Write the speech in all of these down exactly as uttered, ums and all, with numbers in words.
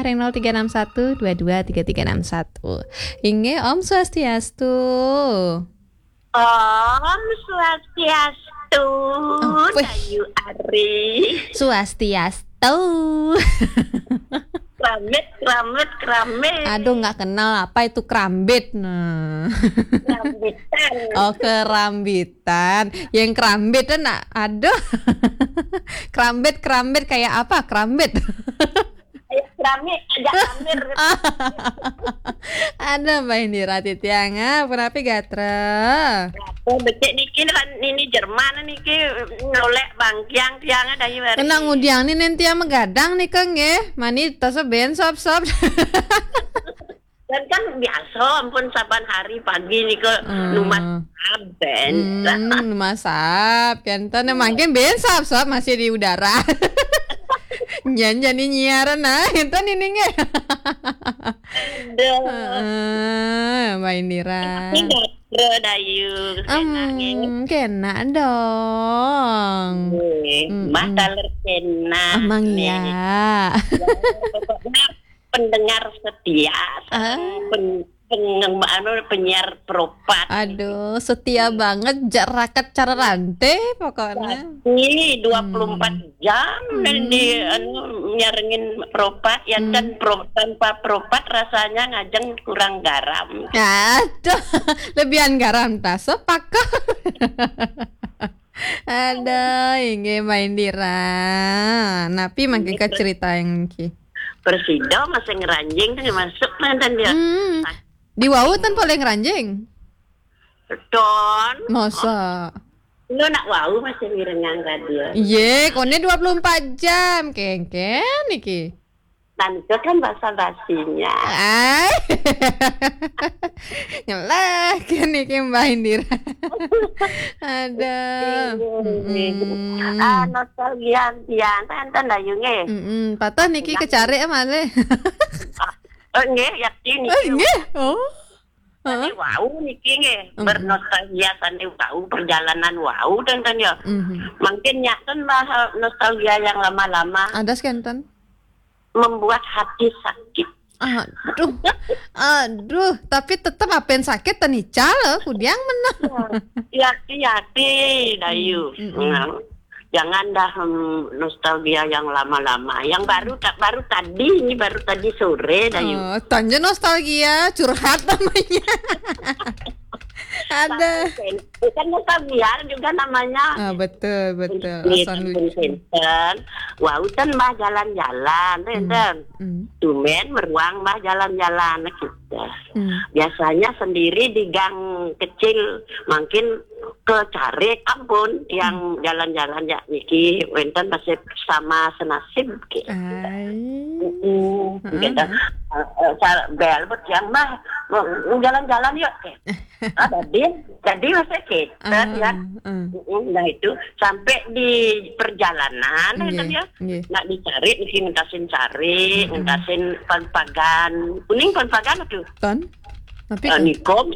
Ring nol tiga enam satu dua dua tiga tiga enam satu. Inggih, Om Swastiastu. Om Swastiastu, oh, wih. Dayu Ari. Swastiastu. Kramit, kramit, kramit. Aduh, nggak kenal apa itu krambit, nah. Krambitan. Oh, kerambitan. Yang krambit, nah, aduh. Krambit, krambit kayak apa? Krambit. Ayo, keramik, ajak kamir. Ada Mbak Indira titiang, ah, punapi gatra? Oh, becik niki, kan ini Jerman niki, nolek bangkiang tiang ada iwari. Kena ngudiang ni nen tiang magadang nika nggih. Mani tasa ben sop-sop. Dan kan biasa ampun saban hari pagi nika, hmm, numas saben. Hmm, numas sap, kan. Tan, iya, mangkin ben sap-sap masih di udara. Nyan jani nyiaran nah, enten ini nggih. Aduh. Heeh, Mbak Indira. Ini gatra, Dayu. Em, kena nggih. Kena dong. Nggih, mm-mm. Mbah taler kena. Emang nih. Iya. Ya, pokoknya pendengar setia, ah, pen-, pen-, anu, penyiar Pro Pat. Aduh, setia banget, jak raket cara rante pokoknya. Jadi, dua puluh empat jam, hmm, dan di, hmm, anu, nyarengin Pro Pat, ya, hmm, kan Pro-, tanpa Pro Pat rasanya ngajeng kurang garam. Aduh, lebihan garam tas, sepakat. Ada, inggih Mbak Indira. Napi mangke, inggih, ke cerita yang ki? Presida masih ngeranjing tuh masuk mantan dia. Hmm. Di wau tan paling ranjing. Ton. Masa? Lu nak wau masih mirengang radio. Ye, kone dua puluh empat jam, kengken niki. Tante kan basa-basinya. Ai. Ngelah kan niki Mbak Indira. Ada. Iya. Mm-mm. Ah, nostalgia pian, enten Dayu nggih. Mm-mm. Patah niki kecari ama le. Oh, nggih, yakin niki. Oh, nggih. Oh. Heeh. Sane wau niki nggih, mm-mm, bernostalgia sane wau, perjalanan wau, ten, ten, ya. Mhm. Mungkin nyaten bah, nostalgia yang lama-lama. Ada sekenten? Membuat hati sakit. Aduh. Aduh, tapi tetep apen sakit tenical, kudiang menang. Ya, hati-hati, Dayu. Hmm, mm-mm. Nah, jangan dah, hmm, nostalgia yang lama-lama. Yang baru ta-, baru tadi, ini baru tadi sore, Dayu. Oh, tanya nostalgia, curhat namanya. Ada. Bukan nostalgia juga namanya. Ah, betul, betul. Ini asan lucu. Wau ten mah jalan-jalan, hmm, enten. Hmm. Tumben meruang mah jalan-jalan kita. Hmm. Biasanya sendiri di gang kecil, mungkin ke Carik, ampun, yang, hmm, jalan-jalan ya niki, wenten masih sama senasib, gitu. Ai. Mm-mm, heeh, gitu. Heeh. Eh, eh, cal-, bel, buat yang mah, mau jalan-jalan yuk, gitu. Ah, jadi, jadi masih gitu, ah, ya. Ah, ah. Mm-mm, nah, itu sampai di perjalanan, nggih, ya, nggih, nak dicari, mesti ngentasin cari, hmm, ngentasin pan-pagan. Kuning pan-pagan tuh. Ton? Tapi eh, kan nikom,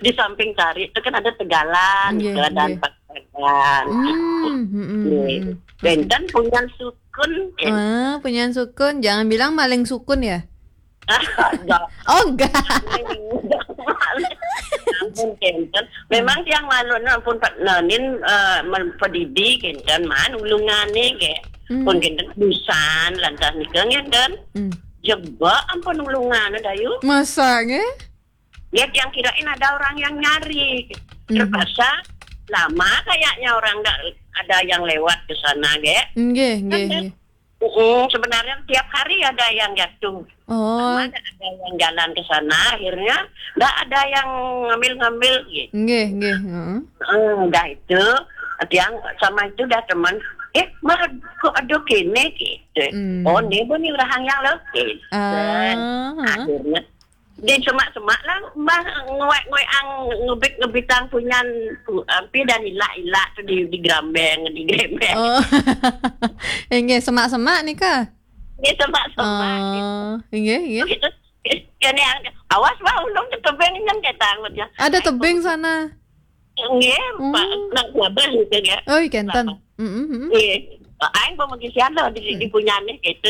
di samping cari itu kan ada tegalan, nggih, gitu, dan nggih, pan-pagan. Hmm, hmm, hmm, nggih, hmm. Benten punya sukun, ya. Ah, punya sukun. Jangan bilang maling sukun, ya? Enggak. Oh, enggak. Ampun, kenten. Memang tiang malu, ampun, Pak Nanin, eh, men-, pedidi, kenten, man, ulungane, ke. Hmm. Pun kenten, busan, lantas nikah, kenten. Hmm. Jebak, ampun, ulungane, Dayu. Masa, nggih? Ya, tiang kirain ada orang yang nyari. Hmm. Terpaksa lama kayaknya orang nggak ada yang lewat ke sana, ge. Nggih, nggih, kan, nggih. Mm-mm, sebenarnya tiap hari ada yang jatuh. Oh. Ada, ada yang jalan ke sana, akhirnya nggak ada yang ngambil-ngambil gitu. Nggih, nggih, heeh. Eh, udah itu, tiang sama itu udah teman, "Eh, Mah, kok ada kene?" gitu. Hmm. "Oh, ini pun orang yang lo," gitu. Ah, heeh. Akhirnya di semak-semak lah, Mbah, nguek-nguek ang, ngebit-ngebitang punyan, pu-, ampi dan ilak-ilak tu di, di gerambeng, di gerembeng. Oh. Inggih, semak-semak nika? Inggih, semak-semak. Oh, inggih, inggih. Gitu. Kene ang, "Awas, Mbah, ulung ke tebing nyen," kata angutnya. Ada tebing sana? Nggih, Pak, hmm, nak Babah gitu ya. Oh, kenten. Babah. Mm-mm, mm-mm. Nggih. Aing pemegisian loh di, hmm, di punyane gitu.